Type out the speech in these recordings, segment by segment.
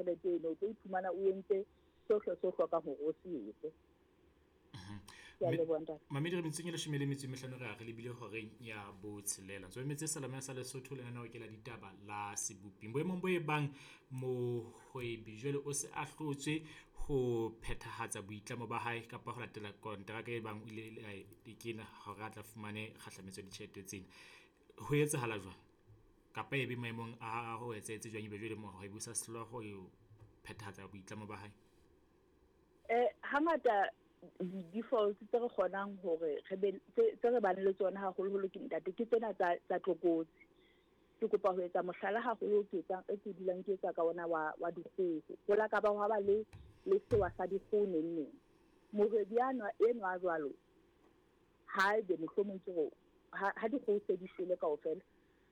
tjhelete eno, o tlo iphumana o entse sohle se o hlokang hore o se etse. Ke a leboha, ntate. Mamedi, re metsotsong e 15 re ya re lebile horeng ya botshelela. Ntse metse Salame sa Lesotho, lenaneo ke la ditaba la seboping. Boemong bo e bang mohwebi jwale o se a hlotswe ho phethahatsa boitlamo ba hae kapa ho latela kontraka e bang o ile a e kena hore a tla fumane kgahlametso ya ditjhelete tsena. Ho etsahala jwang? Kapa e be maemong a ho etsahetse jwang ebe jwale mohwebi o sa hlolwa ho phethahatsa boitlamo ba hae? Hangata di-defaults tse re kgonang hore re be tse re bang le tsona haholoholo ke ntate, ke tsena tsa tlokotsi. Ke kopa ho etsa mohlala haholo ke etsang e ke dulang ke etsa ka ona wa dikgoho. Ho la ka ba hwa ba le sewa sa dikgoho neng neng. Mohwebi enwa a jwalo, ha ebe mohlomong ke hore ha dikgoho se di shwele kaofela,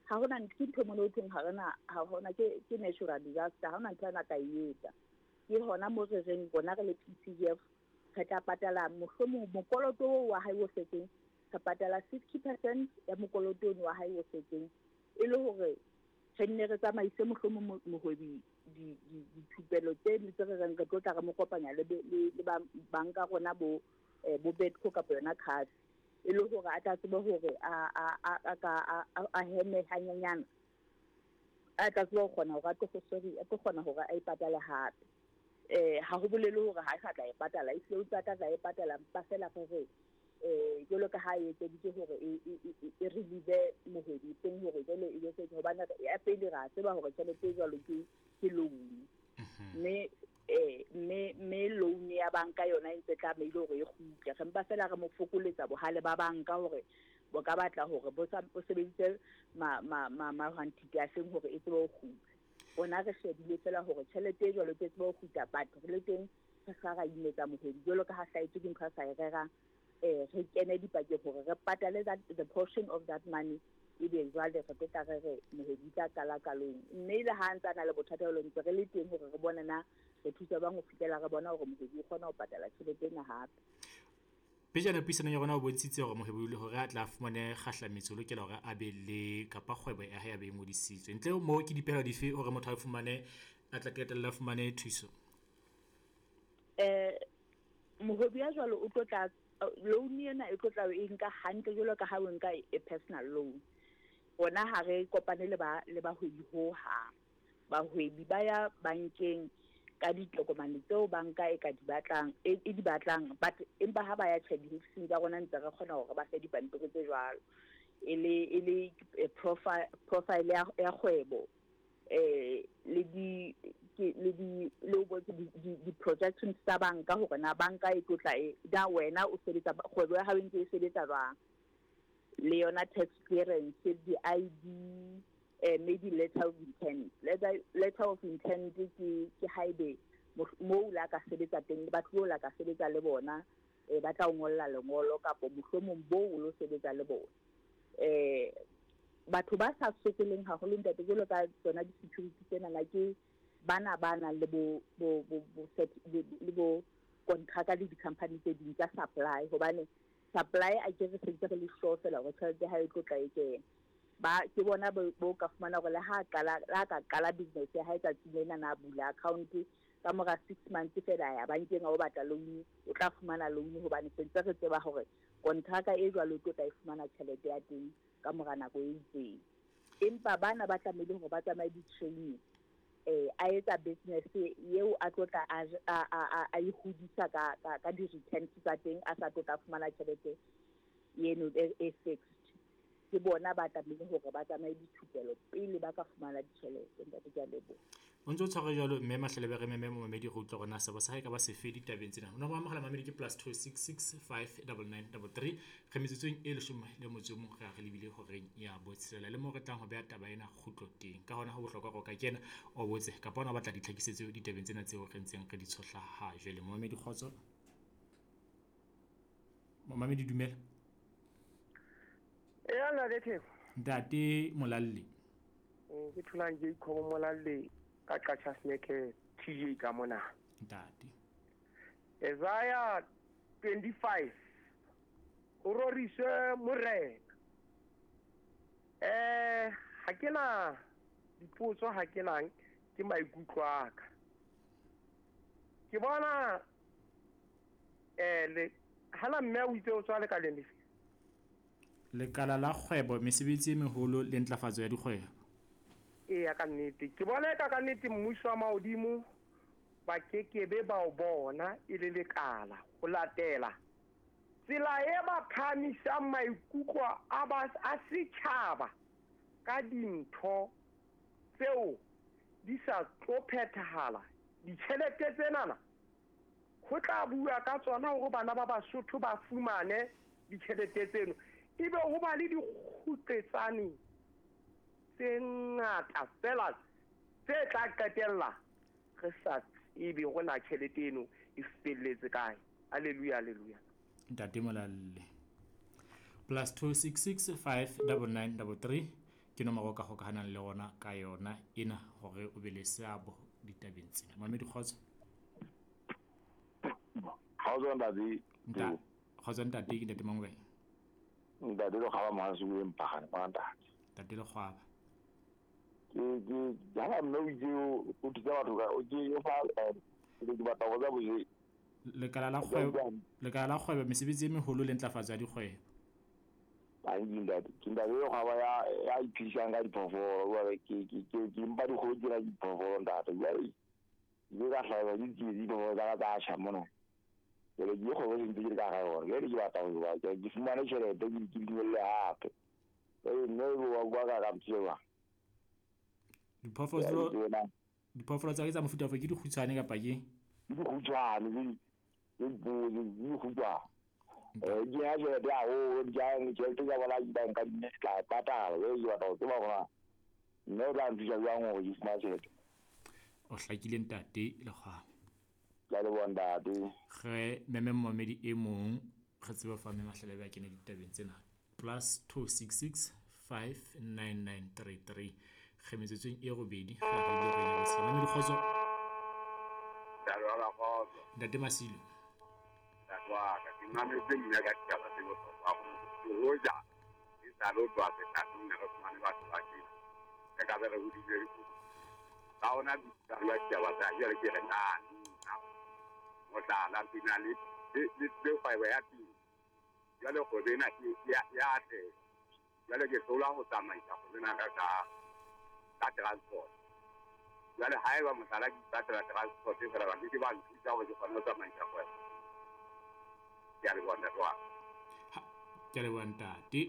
ha hona ke ntho mona ho thweng ha rena, ha hona ke natural disaster, ha hona ntho ena ka e etsa. Ke hona mo re reng rona re le PTF re tla patala mohlomong mokoloto oo wa hae o setseng, re patala 60% ya mokoloto ono wa hae o setseng, e le hore re nne re tsamaise mohlomong mohwebi dithupelo tse ding tse re reng re tlo tla re mo kopanya le banka rona bo Betco kapa yona CAF, e le hore a tla tsebe hore a heme hanyenyana, a tla tsebe ho kgona hore a tlo, sorry, a tlo kgona hore a ipatale hape. Ha ho bolele hore ha e sa tla e patala, ehlile o ntse a tla tla e patala, empa feela re re, jwalo ka ha e etseditswe hore e relieve mohwebi teng hore jwale e be se, hobane ya pele ra tseba hore tjhelete e jwalo ke loan. Mme loan ya banka yona e ntse tlamehile hore e kgutle. Re mpa feela re mo fokoletsa bohale ba banka hore bo ka batla hore bo sa, bo sebedise mahwantiti a feng hore e tsebe ho kgutla. Rona re shebile feela hore tjhelete e jwalo e tsebe ho kgutla, but re le teng re sa ra imetsa mohwebi jwalo ka ha hlahetswe ke ntho a sa e rerang. Re kene dipakeng hore re patale that, the portion of that money, ebe jwale re tlo tla re re mohwebi tla qala ka loan. Mme le ha ntse a na le bothata jwalo, ntse re le teng hore re bone na re thusa bang ho fihlela re bona hore mohwebi o kgona ho patala tjhelete ena hape. Pejana puisanong ya rona o bontshitse hore mohwebi le hore a tla fumane kgahlametso o lokela hore a be le kapa kgwebo ya hae a be e ngodisitswe. Ntle ho moo ke dipehelo dife hore motho a fumane, a tla qetella a fumane thuso? Mohwebi ya jwalo o tlo tla, loan ena e tlo tla e nka hantle jwalo ka ha o nka e personal loan. Rona ha re kopane le bahwebi ho hang. Bahwebi ba ya bankeng ka ditokomane tseo banka e ka di batlang, e di batlang, but empa ha ba ya tjhe diofising tsa rona ntse re kgona hore ba fe dipampiri tse jwalo. E le, profile ya kgwebo, le di, ke, le di, le o bontshe di projections tsa banka hore na banka e tlo tla e, na wena o sebetsa, kgwebo ya hao e ntse e sebetsa jwang. Le yona tax clearance, di-ID, maybe letter of intent. Letter of intent ke haebe moo la ka sebetsa teng, batho bao la ka sebetsa le bona, ba tla o ngolla lengolo kapo mohlomong boo o lo sebetsa le bona. Batho ba sa sokoleng haholo ntate jwalo ka tsona di-security tsena ke bana ba nang le bo, bo, bo, bo, set, le, le bo contract le di-company tse ding tsa supply, hobane supply a ke re sentse re le sure fela hore tjhelete ha e tlo tla e kena. Ba ke bona bo ka fumana hore le ha qala, le ha ka qala business ya hae tsatsing lena na bula account ka mora 6 months fela ya bankeng a o batla loan, o tla fumana loan hobane sentse re tseba hore kontraka e jwalo e tlo tla e fumana tjhelete ya teng ka mora nako e itseng. Empa bana ba tlamehile hore ba tsamaye di-training, a etsa business eo a tlo tla a e hodisa ka di-returns tsa teng, a sa tlo tla fumana tjhelete eno e fixed. Ke bona ba tlamehile hore ba tsamaye dithupelo pele ba ka fumana ditjhelete. Ntate, ke a leboha. O ntse o tshware jwalo, mme Mahlelebe, re meme momamedi re utlwe hore na seabo sa hae ka ba sefe ditabeng tsena. Nomoro ya mohala mamedi ke plus two six six five double nine double three. Re metsotsong e 11 re a re lebile horeng ya botshelela, le moo re tlang ho beha taba ena kgutlo teng. Ka hona ho bohlokwa hore o ka kena o botse kapa ona o batla ditlhakisetso ditabeng tsena tseo re ntseng re di tshohla ha jwale. Momamedi, kgotso. Momamedi, dumela. Eya, ntate Theko. Ntate Molalle. Ke tholang Jacob Molalle ka Qacha's Nek TJ ka mona. Ntate. Isaiah 25. O roriswe Morena. Ha ke na dipotso, ha ke nang ke maikutlo a ka. Ke bona le hala mme o itse o tswa lekaleng lefe? Lekala la kgwebo, mesebetsi e meholo le ntlafatso ya dikgwebo. Eya, ka nnete. Ke bona eka ka nnete mmuso wa mahodimo ba kekebe ba o bona e le lekala ho latela tsela e ba phahamisang maikutlo a ba a setjhaba ka dintho tseo di sa tlo phethahala. Ditjhelete tsenana ho tla bua ka tsona hore bana ba Basotho ba fumane ditjhelete tseno, ebe ho ba le dikguqetsane tse ngata fela tse tla qetella re sa tsebe hore na tjhelete eno e felletse kae. Hallelujah, hallelujah. Ntate Molalle. +266 599 33 ke nomoro o ka hokahanang le rona ka yona ena hore o be le seabo ditabeng tsena. Mamedi, kgotso. Kgotso ntate. Kgotso ntate, ke ntate mang kae? Ntate Lekgwaba Masuwe Mpagane, ngwana ntate. Ntate Lekgwaba. Ke ha mme o itse o thusa batho ka o ke o fa ke batla go tsa boje. Lekala la kgwebo, lekala la kgwebo, mesebetsi e meholo le ntlafatso ya dikgwebo. Banki ntate, ke ntate Lekgwaba ya iphedisang ka diphoofolo, jwale ke mpa dikgoho tsena diphoofolo ntate. Jwale ke ka hlaelwa ke tsietsi diphoofolo tsa ka tsa tjha mona. Jwale ke kgwebo se ntse ke le ka hara yona. Jwale ke batla ho ke fumane tjhelete ke di nyolle hape. Jwale mme wa bua ka ntho eo. Diphoofolo tsa ke tsa mofuta ofe, ke dikgutshwane kapa ke? Ke dikgutshwane, ke dikgutshwane. Ke ya tjhelete haholo, ke ya tjhelete tsa bona di banka di tla patala. Jwale ke batla ho tseba hore mme o tla nthusa jwang hore ke fumane tjhelete. O hlakile ntate Lekgwaba. Ke a leboha ntate. Re meme momamedi e mong re tsebe fa mme Mahlelebe a kene ditabeng tsena. +266 59933. Re metsotsong e robedi re re re nyabotse. Mamedi, kgotso. Ntate Masilo. Ntate wa ka, ke mametse mme ka ditaba tse bohlokwa haholo. Hoja e sa le ho tloha sethatong ne re fumane batho ba tjena. Re ka be re hodile re kudu. Ka hona ditaba ditaba tsa jwale ke re na nna mohlala ke na le kgwebo ya temo. Jwale kgwebo ena ke ya atleha. Jwale ke hlola ho tsamaisa kgwebo ena ka transport. Jwale haeba mohlala ke ipatlela transport fela ba ke ba nthusa hore ke kgone ho tsamaisa kgwebo. Ke a leboha ntate wa ka. Ke a leboha ntate.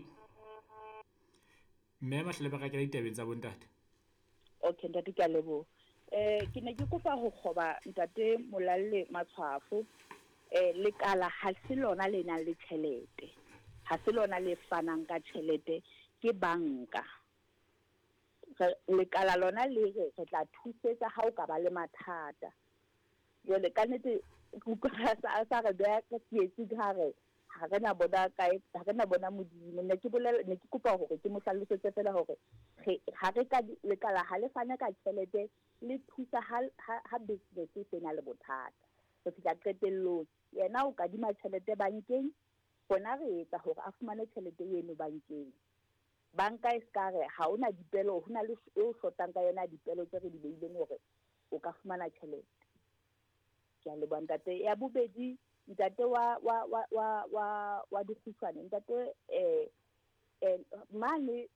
Mme Mahlelebe re kena ditabeng tsa bontate. Okay ntate, ke a leboha. Ke ne ke kopa ho kgoba ntate Molalle matshwafo. Lekala ha se lona le nang le tjhelete. Ha se lona le fanang ka tjhelete, ke banka. Lekala lona le re re tla thusetsa ha o ka ba le mathata. Jwale ka nnete sa re beha ka tsietsi ha re ha re na bona kae, ha re na bona Modimo. Ne ke bolela, ne ke kopa hore ke mo hlalosetse fela hore ha re ka lekala ha le fane ka tjhelete, le thusa ha business e sena le bothata. Re fihla qetellong, yena o kadima tjhelete bankeng, rona re etsa hore a fumane tjhelete eno bankeng. Banka e ska re ha ona dipelo, ho na le e o shotang ka yona dipelo tse re di beileng hore o ka fumana tjhelete. Ke a leboha ntate. Ya bobedi, ntate wa dikgutshwane, ntate mane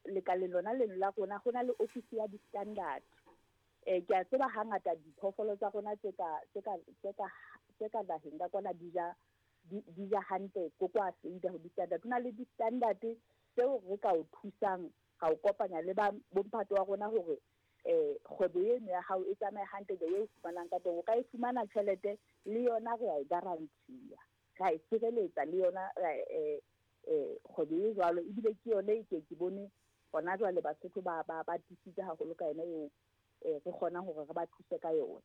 lekaleng lona leno la rona ho na le office ya di-standard. Ke a tseba hangata diphoofolo tsa rona tse ka naheng ka kwana di ja hantle ko kwa feida ho di-standard. Ho na le di-standard tseo re ka o thusang, ra o kopanya le ba bomphato wa rona hore kgwebo eno ya hao e tsamaye hantle the way o fumanang ka teng. O ka e fumana tjhelete le yona re a e guarantee-a, ra e sireletsa le yona kgwebo e jwalo. Ebile ke yone e ke ke bone hona jwale Basotho ba tiisitse haholo ka yona eo, re kgonang hore re ba thuse ka yona.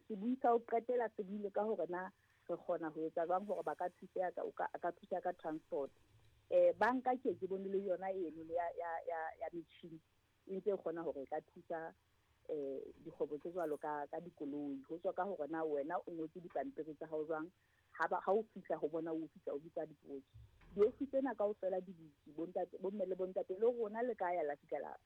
Sebui sa ho qetela se buile ka hore na re kgona ho etsa jwang hore ba ka thuseha ka, o ka, a ka thuseha ka transport. Banka ke bone le yona eno ya metjhini e ntse e kgona hore e ka thusa dikgwebo tse jwalo ka dikoloi. Ho tswa ka hore na wena o ngotse dipampiri tsa hao jwang, ha o fihla ho bona o fihla o bitsa dipotso. Diofisi tsena kaofela di butse, bontate, bomme le bontate le rona le ka ya la fihla